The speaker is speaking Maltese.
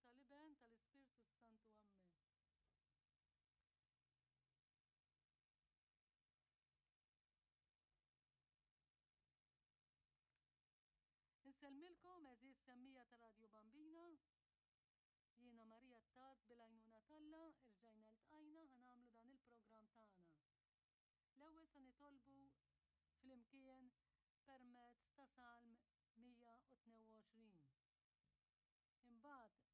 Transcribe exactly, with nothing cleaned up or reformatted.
tal-Iben, tal-Ispirtu Santu. Ammen. Insellmilkom għeżież semmija ta' Radio Bambina. Jiena Marija Tard bil-għajnuna t'Alla, irġajna ltqajna ħa nagħmlu dan il-programm tagħna. L-ewwel se nitolbu flimkien permezz ta' Salm mija u tnejn u għoxrin. Imbagħad